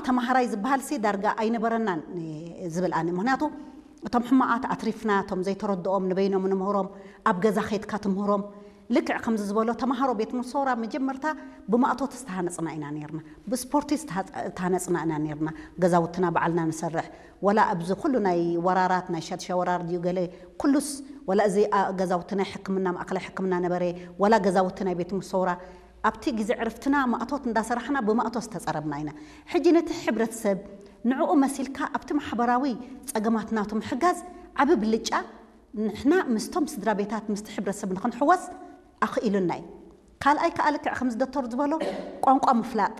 ተማሃራይ ዝበሃል ሲ ዳርጋ ኣይነበረናን ዝብል ኣነ። ምክንያቱ እቶም ሕማቓት ኣትሪፍና፣ እቶም ዘይተረድኦም ንበይኖም ንምህሮም፣ ኣብ ገዛ ኸይድካ ትምህሮም። ልክዕ ከምዚ ዝበሎ ተማሃሮ ቤት ምሶራ መጀመርታ ብማእቶት ዝተሃነፅና ኢና ነርና፣ ብስፖርቲ ዝተሃነፅና ኢና ነርና። ገዛውትና ባዕልና ንሰርሕ፣ ወላ ኣብዚ ኩሉ ናይ ወራራት፣ ናይ ሻድሻ ወራር ድዩ ገለ፣ ኩሉስ፣ ወላ እዚ ገዛውቲ ናይ ሕክምና፣ ማእከላይ ሕክምና ነበረ፣ ወላ ገዛውቲ ናይ ቤት ምሶራ፣ ኣብቲ ግዜ ዕርፍትና ማእቶት እንዳሰራሕና ብማእቶት ዝተፀረብና ኢና። ሕጂ ነቲ ሕብረተሰብ ንዕኡ መሲልካ ኣብቲ ማሕበራዊ ፀገማት ናቱ ምሕጋዝ ዓቢ ብልጫ ንሕና ምስቶም ስድራ ቤታት ምስቲ ሕብረተሰብ ንክንሕወስ ኣኽኢሉና እዩ። ካልኣይ ከዓ ልክዕ ከምዚ ዶክተር ዝበሎ ቋንቋ ምፍላጥ፣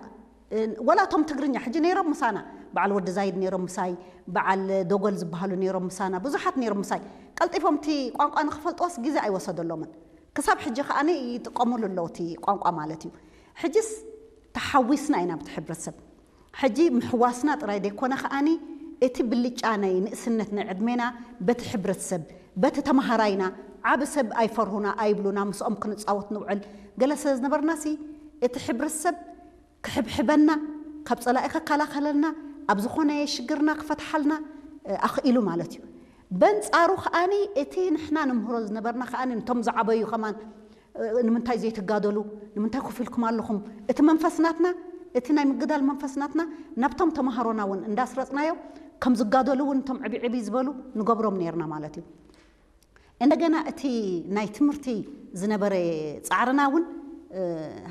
ወላ እቶም ትግርኛ ሕጂ ነይሮም ምሳና፣ በዓል ወዲ ዛይድ ነይሮም ምሳይ፣ በዓል ዶጎል ዝበሃሉ ነይሮም ምሳና፣ ብዙሓት ነይሮም ምሳይ። ቀልጢፎም እቲ ቋንቋ ንክፈልጥዎስ ግዜ ኣይወሰደሎምን። ክሳብ ሕጂ ከዓኒ ይጥቀሙሉ ኣለዉ እቲ ቋንቋ ማለት እዩ። ሕጂስ ተሓዊስና ኢና ብቲ ሕብረተሰብ። ሕጂ ምሕዋስና ጥራይ ደይኮነ ከዓኒ እቲ ብልጫ ናይ ንእስነት ናይ ዕድሜና በቲ ሕብረተሰብ፣ በቲ ተማሃራይና፣ ዓቢ ሰብ ኣይፈርሁና ኣይብሉና፣ ምስኦም ክንጻወት ንውዕል ገለ ስለ ዝነበርናሲ እቲ ሕብረተሰብ ክሕብሕበና፣ ካብ ጸላኢ ከከላኸለልና፣ ኣብ ዝኾነ ሽግርና ክፈትሓልና ኣኽኢሉ ማለት እዩ። በንጻሩ ከዓኒ እቲ ንሕና ንምህሮ ዝነበርና ከዓኒ ነቶም ዝዓበዩ ከማን ንምንታይ ዘይትጋደሉ? ንምንታይ ኮፍ ኢልኩም ኣለኹም? እቲ መንፈስ ናትና፣ እቲ ናይ ምግዳል መንፈስ ናትና ናብቶም ተማሃሮና እውን እንዳስረጽናዮ ከም ዝጋደሉ እውን እቶም ዕብይ ዕብይ ዝበሉ ንገብሮም ነይርና ማለት እዩ። እንደገና እቲ ናይ ትምህርቲ ዝነበረ ጻዕርና እውን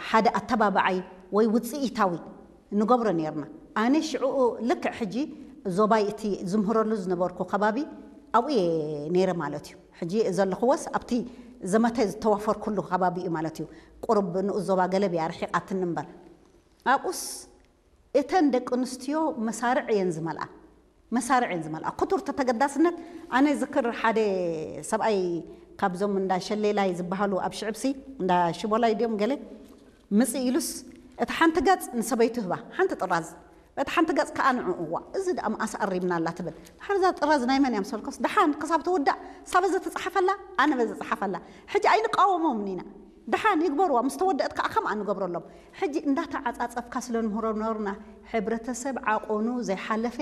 ሓደ ኣተባባዓይ ወይ ውጽኢታዊ ንገብሮ ነይርና። ኣነ ሽዑ ልክዕ ሕጂ ዞባይ እቲ ዝምህረሉ ዝነበርኩ ከባቢ ኣብኡ እየ ነይረ ማለት እዩ። ሕጂ ዘለኽዎስ ኣብቲ ዘመተ ዝተዋፈርኩሉ ከባቢ እዩ ማለት እዩ። ቁሩብ ንኡስ ዞባ ገለብ እያ ርሒቓትኒ እምበር። ኣብኡስ እተን ደቂ ኣንስትዮ መሳርዕ እየን ዝመልኣ። መሳርዕ እየን ዝመልኣ። ክቱር ተተገዳስነት፣ ኣነ ዝክር ሓደ ሰብኣይ ካብዞም እንዳ ሸሌላይ ዝበሃሉ ኣብ ሽዕብሲ፣ እንዳ ሽቦላይ ድዮም ገለ፣ ምጽእ ኢሉስ፣ እታ ሓንቲ ገጽ ንሰበይቱ ህባ፣ ሓንቲ ጥራዝ፣ እታ ሓንቲ ገጽ ከኣ ንዕኡ፣ እዋ፣ እዚ ደኣ መኣስ ኣሪምና ኣላ ትብል። ድሓር እዛ ጥራዝ ናይ መን እያ ምስ በልኩስ፣ ደሓን ክሳብ ትውዳእ፣ እሳ በዚ ትጽሓፈላ፣ ኣነ በዚ እጽሓፈላ። ሕጂ ኣይንቃወሞምን ኢና። ደሓን ይግበርዋ፣ ምስ ተወደአት ከኣ ከምኣ ንገብረሎም። ሕጂ እንዳተዓጻጸፍካ ስለ ንምህሮ ነበርና፣ ሕብረተሰብ ዓቆኑ ዘይሓለፈ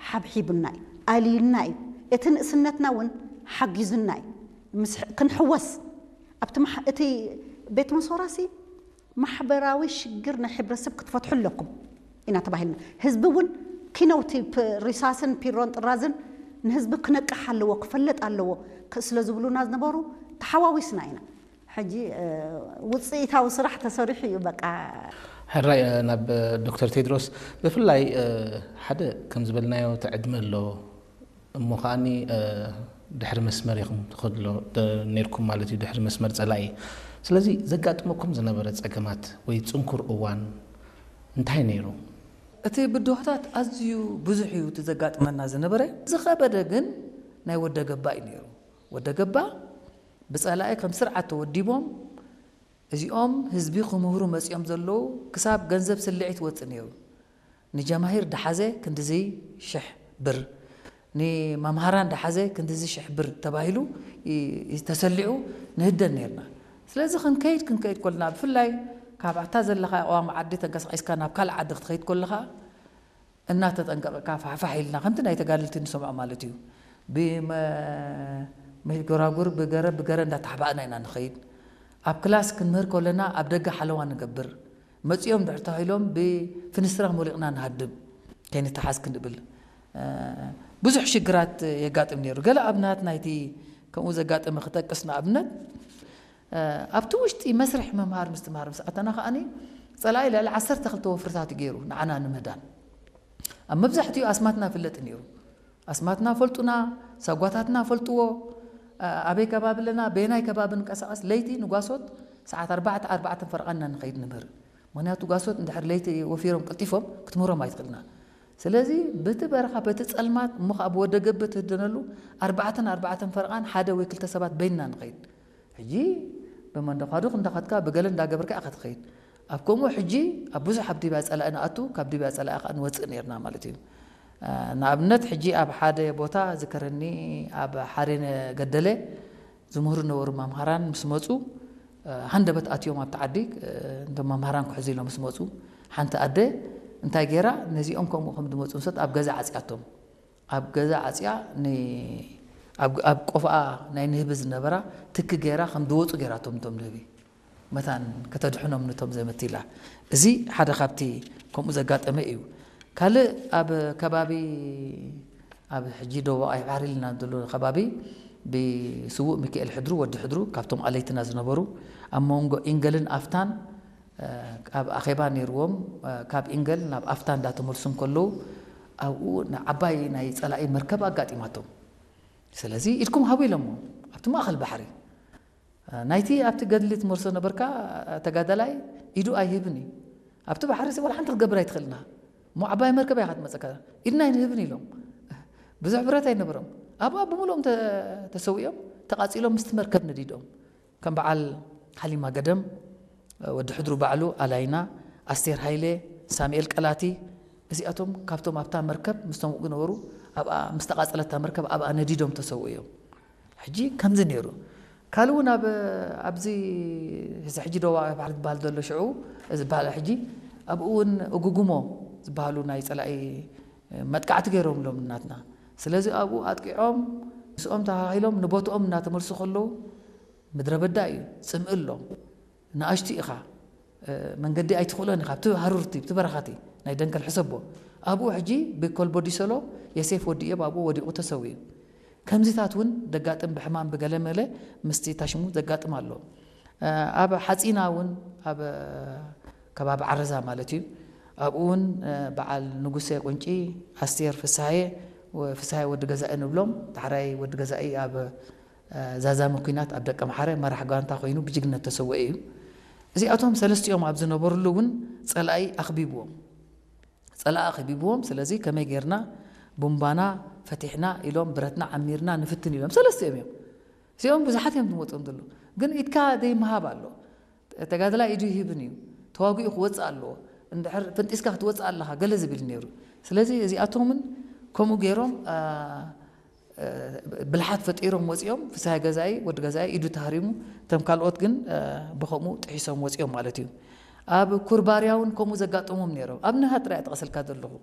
ሓብሒቡና እዩ፣ ኣልዩና እዩ። እቲ ንእስነትና እውን ሓጊዙና እዩ። ምስ ክንሕወስ፣ ኣብቲ መሓ-፣ እቲ ቤት መሶራሲ ማሕበራዊ ሽግር ናይ ሕብረተሰብ ክትፈትሑ ኣለኩም ኢና ተባሂልና። ህዝቢ እውን ኪነውቲ ፕ-፣ ሪሳስን ፒሮን ጥራዝን ንህዝቢ ክነቅሕ ኣለዎ፣ ክፈልጥ ኣለዎ ክ-፣ ስለ ዝብሉና ዝነበሩ ተሓዋዊስና ኢና። ሕጂ፣ እ፣ ውጽኢታዊ ስራሕ ተሰሪሑ እዩ በቃ። ሕራይ፣ እ፣ ናብ ዶክተር ቴድሮስ ብፍላይ፣ እ፣ ሓደ ከም ዝበልናዮ እቲ ዕድመ ኣሎ፣ እሞ ከኣኒ፣ እ፣ ድሕሪ መስመር ኢኹም ትኸድሎ ደ-፣ ነይርኩም ማለት እዩ፣ ድሕሪ መስመር ጸላኢ። ስለዚ ዘጋጥመኩም ዝነበረ ጸገማት ወይ ጽንኩር እዋን እንታይ ነይሩ? እቲ ብድሆታት ኣዝዩ ብዙሕ እዩ እቲ ዘጋጥመና ዝነበረ። ዝኸበደ ግን ናይ ወደ ገባ እዩ ነይሩ። ወደ ገባ ብጸላኢ ከም ስርዓት ተወዲቦም፣ እዚኦም ህዝቢ ክምህሩ መጺኦም ዘለዉ ክሳብ ገንዘብ ስልዒት ወጽእ ነይሩ። ንጀማሂር ደሓዘ ክንድዚ ሽሕ ብር፣ ንመምሃራን ደሓዘ ክንድዚ ሽሕ ብር ተባሂሉ ይ-፣ ይ-፣ ተሰሊዑ ንህደን ነይርና። ስለዚ ክንከይድ፣ ክንከይድ ከለና፣ ብፍላይ ካብ ኣታ ዘለኻ ቀዋሚ ዓዲ ተንቀሳቒስካ ናብ ካልእ ዓዲ ክትኸይድ ከለኻ፣ እናተጠንቀቕካ ፋሕፋሕ ኢልና፣ ከምቲ ናይ ተጋደልቲ ንሰምዖ ማለት እዩ። ብመ-፣ መጎራጉር ብገረ፣ ብገረ እንዳተሓባእና ኢና ንኸይድ። ኣብ ክላስ ክንምህር ከለና ኣብ ደገ ሓለዋ ንገብር። መጺኦም ድሕር ተባሂሎም ብፍንስትራ ሞሊቕና ንሃድም። ከይንተሓዝ ክንብል። እ፣ ብዙሕ ሽግራት የጋጥም ነይሩ። ገለ ኣብነት ናይቲ ከምኡ ዘጋጠመ ክጠቅስ ንኣብነት፣ እ፣ ኣብቲ ውሽጢ መስርሕ ምምሃር ምስትምሃር ምስ ኣተና ከኣኒ፣ ጸላኢ ልዕሊ ዓሰርተ ክልተ ወፍርታት እዩ ገይሩ ንዓና ንምህዳን። ኣብ መብዛሕትኡ ኣስማትና ይፍለጥ ነይሩ። ኣስማትና ፈልጡና፣ ሳጓታትና ፈልጥዎ፣ እ፣ ኣበይ ከባቢ ኣለና፣ በየናይ ከባቢ ንቀሳቐስ፣ ለይቲ ንጓሶት ሰዓት ኣርባዕተ፣ ኣርባዕተ ፈረቓ ኢና ንኸይድ ንምህር። ምኽንያቱ ጓሶት እንድሕር ለይቲ ወፊሮም ቀልጢፎም ክትምህሮም ኣይትኽእልና። ስለዚ በቲ በረኻ፣ በቲ ጸልማት፣ እሞ ኸኣ ብወደ ገብ ትህደነሉ፣ ኣርባዕተን ኣርባዕተን ፈረቓን ሓደ ወይ ክልተ ሰባት በይንና ንኸይድ። ሕጂ ብመንደኳዱኽ እንዳኸድካ፣ ብገለ እንዳገበርካ ኢኻ ትኸይድ። ኣብ ከምኡ ሕጂ ኣብ ብዙሕ ኣብ ዲብያ ጸላኢ ንኣቱ፣ ካብ ዲብያ ጸላኢ ከኣ ንወጽእ ነይርና ማለት እዩ። እ፣ ንኣብነት ሕጂ ኣብ ሓደ ቦታ ዝከረኒ፣ ኣብ ሓሬነ ገደለ ዝምህሩ ነበሩ መምሃራን ምስ መጹ፣ እ፣ ሃንደበት ኣትዮም ኣብቲ ዓዲ፣ እ፣ እንቶም መምሃራን ክሕዙ ኢሎም ምስ መጹ፣ ሓንቲ ኣደ እንታይ ገይራ? ነዚኦም ከምኡ ከም ዝመፁ ምሰት ኣብ ገዛ ዓፅያቶም። ኣብ ገዛ ዓፅያ ን-፣ ኣብ፣ ኣብ ቆፍኣ ናይ ንህቢ ዝነበራ ትኪ ገይራ ከም ዝወፁ ገይራቶም እቶም ንህቢ። መታን ከተድሕኖም ነቶም ዘመት ኢላ። እዚ ሓደ ካብቲ ከምኡ ዘጋጠመ እዩ። ካልእ ኣብ ከባቢ፣ ኣብ ሕጂ ደቡብ ቀይሕ ባሕሪ ኢልና ዘሎ ከባቢ ብስዉእ ሚካኤል ሕድሩ፣ ወዲ ሕድሩ፣ ካብቶም ኣለይትና ዝነበሩ፣ ኣብ መንጎ ኢንገልን ኣፍታን ኣብ ኣኼባ ነይርዎም። ካብ ኢንገል ናብ ኣፍታ እንዳተመልሱ እንከለዉ ኣብኡ ንዓባይ ናይ ጸላኢ መርከብ ኣጋጢማቶም። ስለዚ ኢድኩም ሃቡ ኢሎሞ ኣብቲ ማእኸል ባሕሪ። ናይቲ ኣብቲ ገድሊ ትመርሶ ነበርካ ተጋዳላይ ኢዱ ኣይህብን እዩ። ኣብቲ ባሕሪ ሲ ዋላ ሓንቲ ክትገብር ኣይትኽእልና። እሞ ዓባይ መርከብ እያ ክትመጸካ። ኢድና ኣይንህብን ኢሎም። ብዙሕ ብረት ኣይነበሮም። ኣብኣ ብምሉኦም ተ-፣ ተሰዊኦም፣ ተቓጺሎም ምስቲ መርከብ ነዲዶም። ከም በዓል ሓሊማ ገደም፣ ወዲ ሕድሩ ባዕሉ፣ ኣላይና፣ ኣስቴር ሃይለ፣ ሳሙኤል ቀላቲ፣ እዚኣቶም ካብቶም ኣብታ መርከብ ምስቶም ዝነበሩ ኣብኣ፣ ምስ ተቓጸለታ መርከብ ኣብኣ ነዲዶም ተሰውኡ እዮም። ሕጂ ከምዚ ነይሩ። ካልእ እውን ኣብ፣ ኣብዚ እዚ ሕጂ ደቡባዊ ባሕሪ ዝበሃል ዘሎ ሽዑ ዝበሃል ሕጂ ኣብኡ እውን እጉጉሞ ዝበሃሉ ናይ ጸላኢ መጥቃዕቲ ገይሮምሎም እናትና። ስለዚ ኣብኡ ኣጥቂዖም ምስኦም ተሃሂሎም ንቦትኦም እናተመልሱ ከለዉ ምድረ በዳ እዩ፣ ጽምኢ ኣሎ። ንኣሽቱ ኢኻ፣ እ፣ መንገዲ ኣይትኽእሎን ኢኻ። ኣብቲ ሃሩርቲ፣ ኣብቲ በረኻቲ ናይ ደንከል ሕሰቦ። ኣብኡ ሕጂ ብኮልቦ ዲሰሎ የሴፍ ወዲ እዮብ ኣብኡ ወዲቑ ተሰዊኡ። ከምዚታት እውን ደጋጥም ብሕማም ብገለ መለ ምስቲ ታሽሙ ዘጋጥም ኣሎ። እ፣ ኣብ ሓጺና እውን ኣብ ከባቢ ዓረዛ ማለት እዩ። ኣብኡ እውን፣ እ፣ በዓል ንጉሴ ቁንጪ፣ ኣስቴር ፍስሃየ፣ ወ-፣ ፍስሃየ ወዲ ገዛኢ ንብሎም፣ ዳሕራይ ወዲ ገዛኢ ኣብ እ፣ ዛዛሚ ኲናት ኣብ ደቀምሓረ መራሕ ጋንታ ኮይኑ ብጅግነት ተሰውአ እዩ። እዚኣቶም ሰለስቲኦም ኣብ ዝነበርሉ እውን ጸላኢ ኣኽቢብዎም። ጸላኢ ኣኽቢብዎም፣ ስለዚ ከመይ ጌርና ቡምባና ፈቲሕና ኢሎም፣ ብረትና ዓሚርና ንፍትን ኢሎም። ሰለስቲኦም እዮም። እዚኦም ብዙሓት እዮም ዝመጹኦም ዘለዉ። ግን ኢድካ ዘይምሃብ ኣሎ። ተጋዳላይ ኢዱ ይህብን እዩ። ተዋጊኡ ክወጽእ ኣለዎ። እንድሕር ፈንጢስካ ክትወጽእ ኣለኻ፣ ገለ ዝብል ነይሩ። ስለዚ እዚኣቶምን ከምኡ ገይሮም፣ አ፣ ብልሓት ፈጢሮም ወጺኦም፣ ፍስሃ ገዛኢ፣ ወዲ ገዛኢ ኢዱ ተሃሪሙ፣ እቶም ካልኦት ግን፣ እ፣ ብኸምኡ ጥሒሶም ወጺኦም ማለት እዩ። ኣብ ኩርባርያ እውን ከምኡ ዘጋጠሞም ነይሮም። ኣብ ንሃ ጥራይ ጠቕሰልካ ዘለኹ።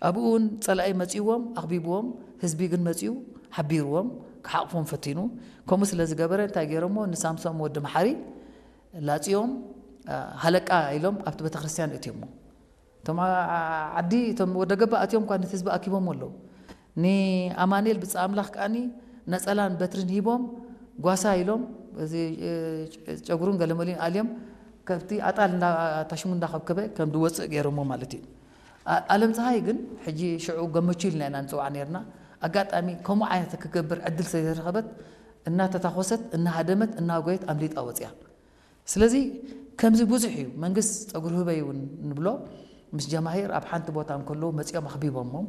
ኣብኡ እውን ጸላኢ መጺዎም፣ ኣኽቢብዎም፣ ህዝቢ ግን መጺኡ ሓቢርዎም፣ ክሓቕፎም ፈቲኑ። ከምኡ ስለ ዝገበረ እንታይ ገይሮሞ? ንሳምሶም ወዲ መሓሪ ላጺኦም፣ እ፣ ሃለቃ ኢሎም ኣብቲ ቤተክርስትያን እትዮሞ። እቶም ዓ-፣ ዓዲ፣ እቶም ወደ ገባ ኣትዮም እኳ ነቲ ህዝቢ ኣኪቦም ኣለዉ። ንኣማኑኤል ብጻ ኣምላኽ ከኣኒ ነጸላን በትርን ሂቦም፣ ጓሳ ኢሎም፣ እዚ፣ እ፣ ጨጉሩን ገለመሊን ኣልዮም፣ ከብቲ ኣጣል እንዳ-፣ ታሽሙ እንዳኸብከበ ከም ዝወጽእ ገይሮሞ ማለት እዩ። ኣ-፣ ኣለም ፀሃይ ግን፣ ሕጂ ሽዑ ገመቹ ኢልና ኢና ንጽውዓ ነይርና፣ ኣጋጣሚ ከምኡ ዓይነት ክገብር ዕድል ስለ ዘይረኸበት፣ እናተታኾሰት፣ እናሃደመት፣ እናጎየት ኣምሊጣ ወጽያ። ስለዚ ከምዚ ብዙሕ እዩ። መንግስት ጸጉሪ ህበይ እውን ንብሎ፣ ምስ ጀማሂር ኣብ ሓንቲ ቦታ እንከለዉ መጺኦም ኣኽቢቦሞም፣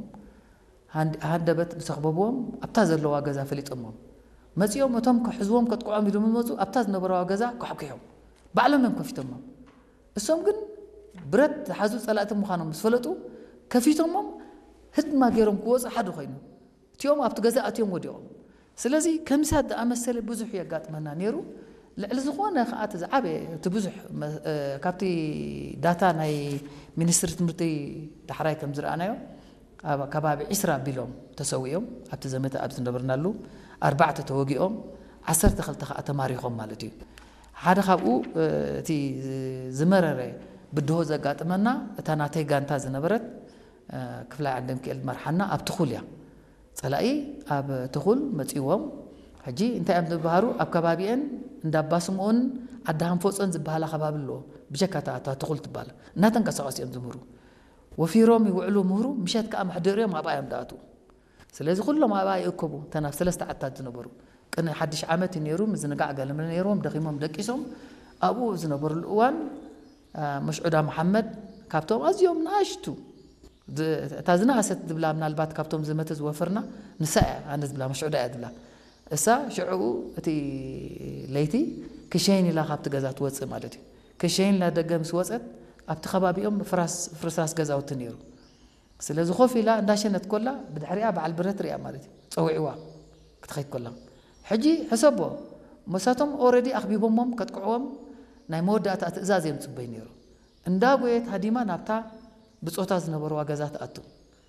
ሃንድ-፣ ሃንደበት ምስ ኣኽበብዎም ኣብታ ዘለዋ ገዛ ፈሊጦሞም። መጺኦም እቶም ክሕዝዎም ከጥቅዖም ኢሉ ምስ መጹ ኣብታ ዝነበረዋ ገዛ ኳሕኲሖም። ባዕሎም እዮም ከፊቶሞም። እሶም ግን ብረት ዝሓዙ ጸላእቲ ምዃኖም ምስ ፈለጡ ከፊቶሞም ህድማ ገይሮም ክወጹ ሓደ ኮይኑ። እቲኦም ኣብቲ ገዛ ኣትዮም ወዲቖም። ስለዚ ከምዚ ዝኣመሰለ ብዙሕ የጋጥመና ነይሩ። ልዕሊ ዝኾነ ከኣ እቲ ዝዓበየ፣ እቲ ብዙሕ መ-፣ እ፣ ካብቲ ዳታ ናይ ሚኒስትሪ ትምህርቲ ዳሕራይ ከም ዝረኣናዮ፣ ኣብ ከባቢ ዒስራ ኣቢሎም ተሰዊኦም ኣብቲ ዘመተ ኣብ ዝነበርናሉ፣ ኣርባዕተ ተወጊኦም፣ ዓሰርተ ክልተ ከኣ ተማሪኾም ማለት እዩ። ሓደ ካብኡ፣ እ፣ እቲ ዝመረረ ብድሆ ዘጋጥመና፣ እታ ናተይ ጋንታ ዝነበረት፣ እ፣ ክፍላይ ዓንደምክኤል መርሓና ኣብ ትኹል እያ። ጸላኢ ኣብ ትኹል መጺዎም። ሕጂ እንታይ እዮም ዝበሃሩ? ኣብ ከባቢኤን እንዳ ኣባ ስምኦን ዓዲ ሃንፎጾን ዝበሃላ ከባቢ ኣለዎ። ብጀካ እታ፣ እታ ትኹል ትበሃል። እናተንቀሳቐሱ እዮም ዝምህሩ። ወፊሮም ይውዕሉ ምህሩ፣ ምሸት ከኣ መሕደሪኦም ኣብኣ እዮም ዝኣትዉ። ስለዚ ኩሎም ኣብኣ ይእከቡ፣ እተን ኣብ ሰለስተ ዓድታት ዝነበሩ። ቅድሚ ሓድሽ ዓመት እዩ ነይሩ፣ ምዝንጋዕ ገለ መለ ነይርዎም፣ ደኺሞም ደቂሶም፣ ኣብኡ ዝነበሩሉ እዋን፣ አ፣ መስዑዳ መሓመድ ካብቶም ኣዝዮም ንኣሽቱ፣ ዝ-፣ እታ ዝነኣሰት ዝብላ ምናልባት ካብቶም ዝመተ ዝወፈርና ንሳ እያ፣ ኣነ ዝብላ መስዑዳ እያ ዝብላ። እሳ ሽዕኡ እቲ ለይቲ ክሸይን ኢላ ካብቲ ገዛ ትወጽእ ማለት እዩ። ክሸይን ኢላ ደገ ምስ ወጸት ኣብቲ ከባቢኦም ፍራስ-፣ ፍርስራስ ገዛውቲ ነይሩ። ስለዚ ኮፍ ኢላ እንዳሸነት ኮላ ብድሕሪኣ በዓል ብረት ሪኣ ማለት እዩ። ጸዊዕዋ ክትኸይድ ኮላ። ሕጂ ሕሰቦ፣ መሳቶም ኦረዲ ኣኽቢቦሞም ከጥቅዕዎም ናይ መወዳእታ ትእዛዝ እዮም ጽበይ ነይሩ። እንዳጎየት ሃዲማ ናብታ ብጾታ ዝነበርዋ ገዛ ትኣቱ።